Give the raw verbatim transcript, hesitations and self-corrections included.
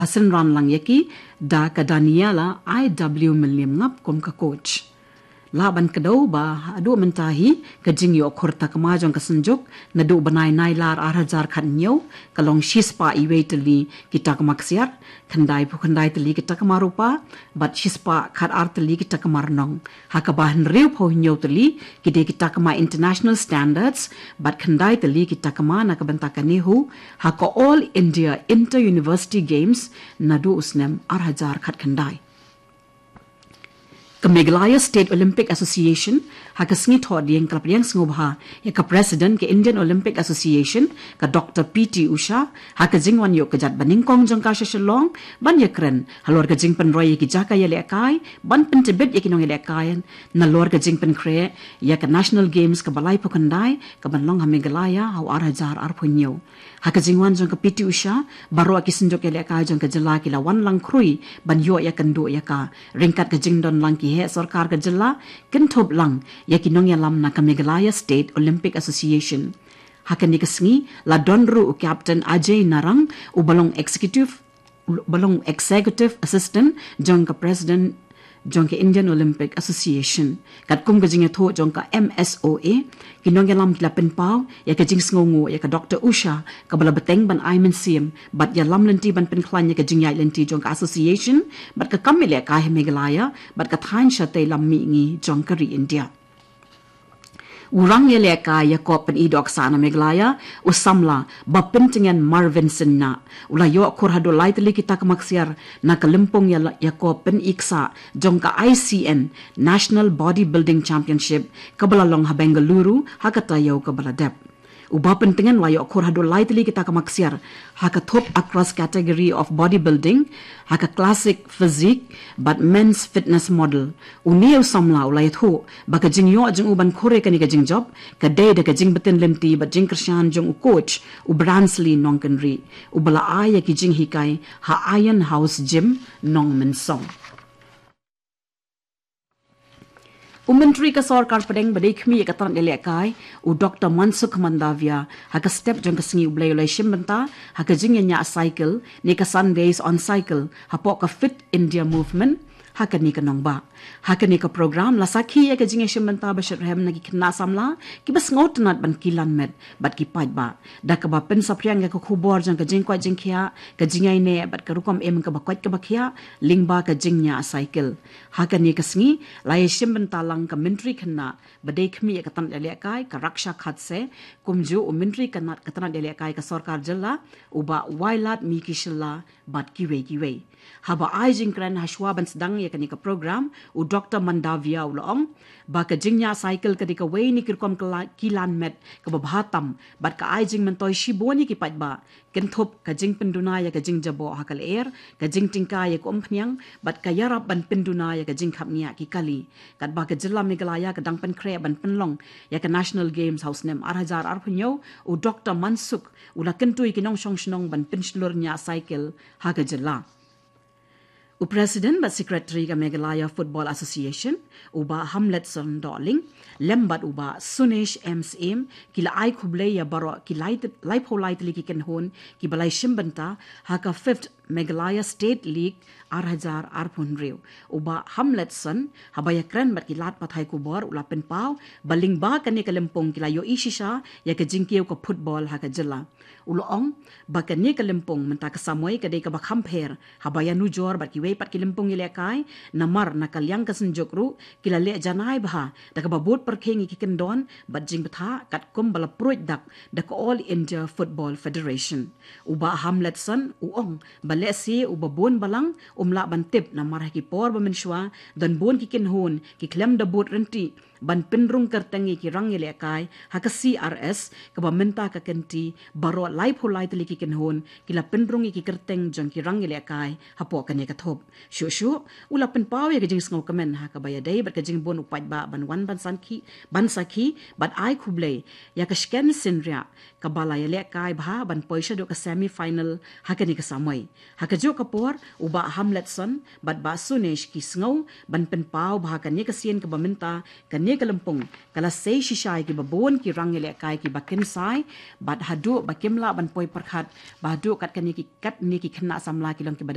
Ba synran lang ïa ki da ka Daniela I W Mylliem Ngap kum ka coach. Lah ban kdew ba haduh mynta hi ka jingïoh khur takma jong ka Synjuk naduh bnai Nailar ar hajar khathynñiew ka long shispah iwei tylli ki takma ksiar, khyndai phew khyndai tylli ki takma rupa bad shispah khatar tylli ki takma rnong. Ha kaba hynriew phew hynñiew tylli ki dei ki takma international standards bad khyndai tylli ki takma na ka bynta ka NEHU ha ka All India Inter University Games naduh u snem ar hajar khatkhyndai. Ka Meghalaya State Olympic Association ha ka sngi Thohdieng ka la pdiang sngewbha ïa ka President ka Indian Olympic Association, ka Doctor P T Usha, ha ka jingwan ïoh kjat banyngkong jong ka sha Shillong ban ïakren halor ka jingpynroi ïa ki jaka ïalehkai ban pyntbit ïa ki nongïalehkai nalor ka jingpynkhreh ïa ka National Games kaba laiphew khyndai kaban long ha Meghalaya ha u ar hajar arphew hynñiew. Ha ka jingwan jong ka P T Usha, baroh ki synjuk ïalehkai jong ka jylla ki la wan lang khrui ban ïoh ïakynduh ïa ka, ryngkat ka jingdon lang ki heh sorkar ka jylla kynthup lang ïa ki nongïalam na ka Meghalaya State Olympic Association. Ha kane ka sngi la don ruh u Captain Ajay Narang, uba long executive, uba long executive assistant jong ka President jong ka Indian Olympic Association. Katkum ka jingïathuh jong ka M S O A, ki nongïalam ki la pynpaw ïa ka jingsngewnguh ïa ka Doctor Usha kaba la bteng ban ai mynsiem bad ïalam lynti ban pynkhlaiñ ïa ka jingïaid lynti jong ka association bad ka kam ïalehkai ha Meghalaya bad ka thaiñ shatei lam mihngi jong ka ri India. U rangïalehkai ïakop pyni doh ksah na Meghalaya, u samla ba pyntngen Marvin Shylla, u la ïoh khur haduh lai tylli ki takma ksiar na ka lympung ïa la-, ïakop pyni ksah jong ka I C N National Bodybuilding Championship kaba la long ha Bengaluru ha ka taïew kaba la dep. U ba pyntngen la ïoh khur haduh lai tylli ki takma ksiar ha ka thup across category of bodybuilding, ha ka classic physique bad men's fitness model. Une u samla u la ïathuh ba ka jingïoh jong u ban khur ïa kane ka jingjop ka dei da ka jingbtin lynti bad jingkyrshan jong u coach, u Bransley Nongkynrih, uba la ai ïa ki jinghikai ha Iron House Gym, Nongmynsong. U Myntri ka Sorkar Pdeng ba dei khmih ïa ka tnat ïalehkai, u Doctor Mansukh Mandavia, ha ka step jong ka Sngi U Blei u la ïashim bynta ha ka jingïañiah cycle ne ka Sundays on Cycle hapoh ka Fit India Movement ha kane ka nongbah. Ha kane ka program la sakhi ïa ka jingïashim bynta ba shitrhem na ki khynnah samla kiba sngewtynnat ban kilan met bad ki paidbah, da kaba pynsaphriang ïa ka khubor jong ka jingkoit jingkhiah, ka jingïaineh bad ka rukom im kaba koit kaba khiah lyngba ka jingñiah cycle. Ha kane ka sngi la ïashim bynta lang ka Myntri Khynnah ba dei khmih ïa ka tnat ïalehkai, ka Raksha Khadse, kumjuh u Myntri ka tnat, ka tnat ïalehkai ka Sorkar Jylla, u Bah Wailadmiki Shylla, bad kiwei kiwei. Haba ai jingkren hashwa ban sdang ïa kane ka program, u Doctor Mandavia u la ong ba ka jingñiah cycle ka dei kawei na ki rukom kla-, kilan met kaba bha tam bad ka ai jingmyntoi shibun ïa ki paidbah, kynthup ka jingpynduna ïa ka jingjaboh ha ka lyer, ka jingtyngkai ïa ka umphniang bad ka ïarap ban pynduna ïa ka jingkhapngiah ki kali. Katba ka jylla Meghalaya ka dang pynkhreh ban pynlong ïa ka National Games ha u snem ar hajar arphew hynñiew, u Doctor Mansukh u la kyntu ïa ki nongshong shnong ban pynshlur ñiah cycle ha ka jylla. U President bad Secretary ka Meghalaya Football Association, u Bah Hamletson Dohling, lem bad u Bah Sunesh M Syiem, ki la ai khublei ïa baroh ki lai, laiphew lai tylli ki kynhun kiba la ïashim bynta ha ka Fifth Meghalaya State League ar hajar arphew hynriew. U Bah Hamletson, haba ïakren bad ki lad pathai khubor, u la pynpaw ba lyngba kane ka lympung ki la ïohi shisha ïa ka jingkiew ka football ha ka jylla. U la ong ba kane ka lympung mynta ka samoi ka dei kaba kham pher haba ïanujor bad kiwei pat ki lympung ïalehkai, namar na ka liang ka Synjuk ruh ki la leh janai bha da kaba bud pyrkhing ïa ki kyndon bad jingbthah katkum ba la pruid dak da ka All India Football Federation. U Bah Hamletson u ong ba lehse uba bun balang um lah ban tip, namar ha ki por ba mynshuwa don bun ki kynhun ki khlem da bud ryntih ban pynrung kyrteng ïa ki rang ïalehkai ha ka C R S, kaba mynta ka kynti baroh laiphew lai tylli ki kynhun ki la pynrung ïa ki kyrteng jong ki rang ïalehkai hapoh kane ka thup. Shuh shuh u la pynpaw ïa ka jingsngewkmen ha kaba ïadei bad ka jingbun u paidbah ban wan ban sakhi, ban sakhi bad ai khublei ïa ka Shken Synriah kaba la ïalehkai bha ban poi shaduh ka semi final ha kane ka samoi. Ha kajuh ka por, u Bah Hamletson bad Bah Sunesh ki sngew ban pynpaw ba ha kane ka sien kaba mynta, kane Kane ka lympung ka la sei shisha ïa kiba bun ki rang ïalehkai kiba kynsai bad haduh ba kim lah ban poi pyrkhat, ba haduh kat kane ki, kat ne ki khynnah samla ki long kiba